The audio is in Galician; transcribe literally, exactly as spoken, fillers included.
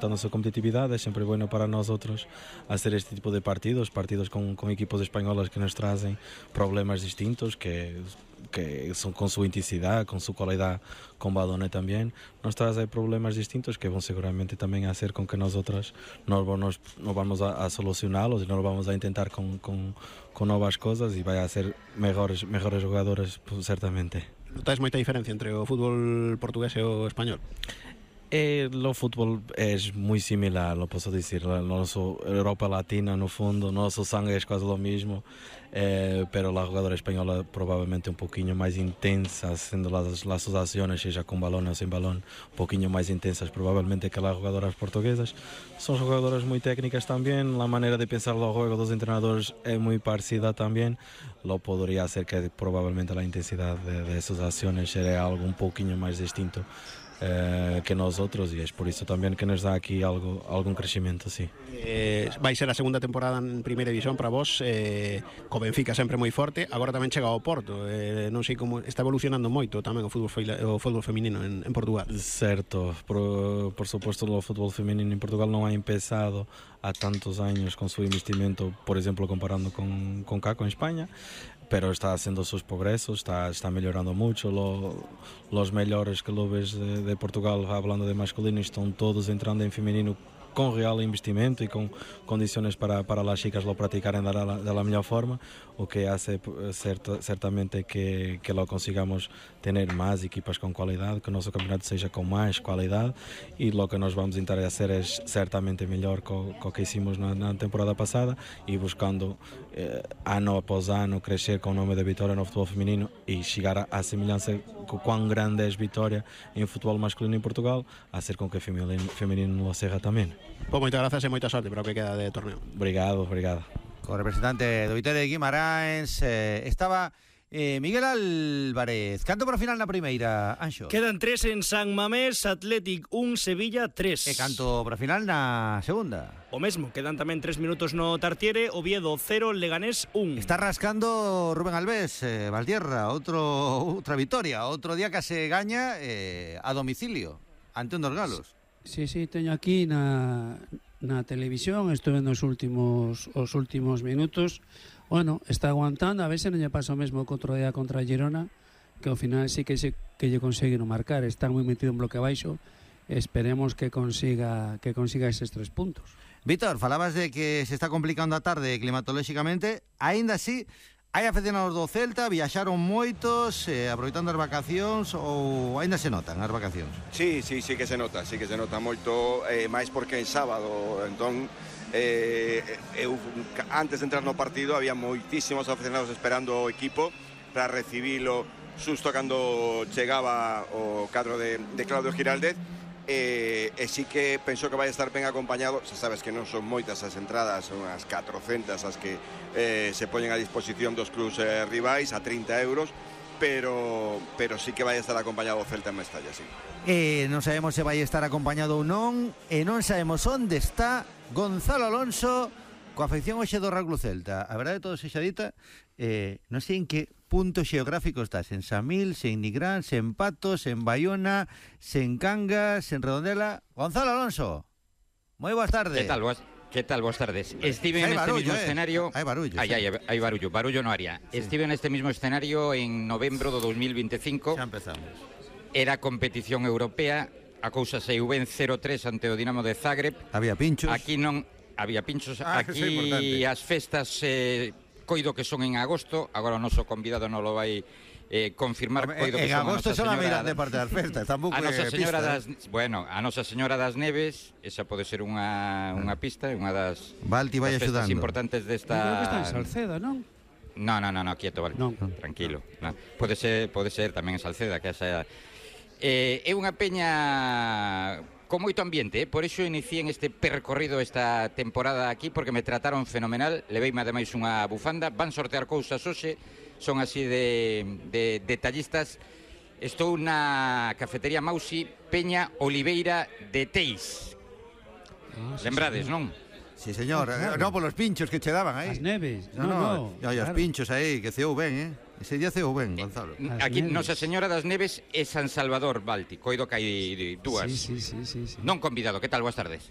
aumentando a súa competitividade. É sempre bueno para nós outros hacer este tipo de partidos, partidos con, con equipos españolas que nos trazem problemas distintos, que, que son con súa intensidade, con súa cualidade con balón tamén, nos trazem problemas distintos que vão seguramente tamén a hacer con que nós outras nos, nos, nos vamos a, a solucioná-los e nos vamos a intentar con, con, con novas coisas e vai a ser mejores, mejores jogadores, pues, certamente. Notáis moita diferencia entre o fútbol portugués e o español? Eh, o fútbol é muito similar, lo posso dizer. A nossa Europa Latina, no fundo, nosso sangue é quase o mesmo, eh, pero a jogadora espanhola provavelmente um pouquinho mais intensa, sendo as, as suas ações, seja com balão ou sem balão, um pouquinho mais intensas provavelmente que as jogadoras portuguesas. São jogadoras muito técnicas também, a maneira de pensar o jogo dos treinadores é muito parecida também. Lo poderia ser que provavelmente a intensidade de, de suas ações seria algo um pouquinho mais distinto Eh, que nós outros, e é por isso também que nos dá aqui algo, algum crescimento, sim. Eh, vai ser a segunda temporada en primeira división para vos, eh, co Benfica sempre moi forte, agora tamén chega ao Porto, eh, non sei como está evolucionando moito tamén o fútbol, o fútbol feminino en, en Portugal. Certo, por, por suposto o fútbol feminino em Portugal não ha empezado há tantos anos com seu investimento, por exemplo, comparando com, com cá, com Espanha, pero está haciendo sus progresos, está, está mejorando mucho. Lo, los mejores clubes de, de Portugal, hablando de masculino, están todos entrando en femenino con real investimento y con condiciones para, para las chicas lo practicarem de la, de la mejor forma, o que hace cert, certamente que, que lo consigamos tener más equipas con cualidad, que nuestro campeonato seja con más cualidad, y lo que nos vamos a intentar hacer es certamente mejor co, co que hicimos na, na temporada pasada, y buscando eh, ano após ano crescer com o nome de Vitória no futebol feminino e chegar à semelhança com quão grande é a Vitória em futebol masculino em Portugal, a ser com que o feminino, feminino lo seja também. Pois moitas grazas e moita sorte para o que queda de torneo. Obrigado, obrigado. Con representante do Vitória de Guimarães eh, estaba eh, Miguel Álvarez. Canto para o final na primeira, Anxo? Quedan tres en San Mamés, Athletic un, Sevilla tres. E canto para o final na segunda? O mesmo, quedan tamén tres minutos no Tartiere, Oviedo cero, Leganés un. Está rascando Rubén Alves, eh, Valtierra, outro, outra vitoria, outro día que se gaña eh, a domicilio, ante un dos galos. Sí, sí, teño aquí na, na televisión, estuve nos últimos os últimos minutos. Bueno, está aguantando, a ver se non lle pasa o mesmo que outro día contra Girona, que ao final sí que se, que lle conseguiron marcar, está moi metido en bloque abaixo. Esperemos que consiga que consiga eses tres puntos. Víctor, falabas de que se está complicando a tarde climatolóxicamente, aínda así hai aficionados do Celta, viaxaron moitos, eh, aproveitando as vacacións, ou aínda se notan as vacacións? Sí, sí, sí que se nota, sí que se nota moito, eh, máis porque en sábado, entón, eh, eu, antes de entrar no partido, había moitísimos aficionados esperando o equipo para recibilo susto cando chegaba o cadro de, de Claudio Giraldez, e, e sí que penso que vai estar ben acompañado. Xa sabes que non son moitas as entradas, son as catrocentas as que eh, se poñen a disposición dos clubs eh, rivais a trinta euros, pero pero sí que vai estar acompañado o Celta en Mestalla, sí. E non sabemos se vai estar acompañado ou non, e non sabemos onde está Gonzalo Alonso coa afección hoxe do Real Club Celta. A verdade, todo sexa dita, eh, non sei en que punto xeográfico estás, en Samil, en Nigrán, en Patos, en Bayona, en Cangas, en Redondela. Gonzalo Alonso, moi boas tardes. Que tal, boas, que tal, boas tardes. Estive en este barullo, mismo eh. escenario. Hai barullo. Hai, sí. hai, hai barullo, barullo no área. Sí. Estive en este mismo escenario en novembro do dos mil veinticinco. Xa empezamos. Era competición europea, a cousa saiu ben cero tres ante o Dinamo de Zagreb. Había pinchos. Aquí non había pinchos, ah, aquí as festas eh, coido que son en agosto, agora o noso convidado non lo vai eh, confirmar. Hombre, coido en que son agosto a son a mirar señora, de parte das festas, tampouco a Nosa Señora pista, das, eh? bueno, a Nosa Señora das Neves, esa pode ser unha unha pista, unha das, Valti vai das festas axudando. importantes desta. Creo que está en Salceda, non? No, no, no, no, quieto, vale. Non. Tranquilo. No. Pode ser, pode ser tamén en Salceda, que esa eh, é unha peña con moito ambiente, eh? Por iso iniciei en este percorrido esta temporada aquí, porque me trataron fenomenal, leveime ademais unha bufanda, van sortear cousas hoxe, son así de, de detallistas. Estou na cafetería Mausi, Peña Oliveira de Teis. Ah, sí, Lembrades, señor. non? Sí, señor, Claro. eh, no, por los pinchos que che daban aí. As neves, No, no, no, no, no, os claro. pinchos aí, que ceou ben, eh. Ese día ceou ben, Gonzalo. As Aquí Neves. Nosa Señora das Neves e San Salvador Balti. Coido que hai dúas. Sí, sí, sí, sí, sí. Non convidado, que tal? Boas tardes.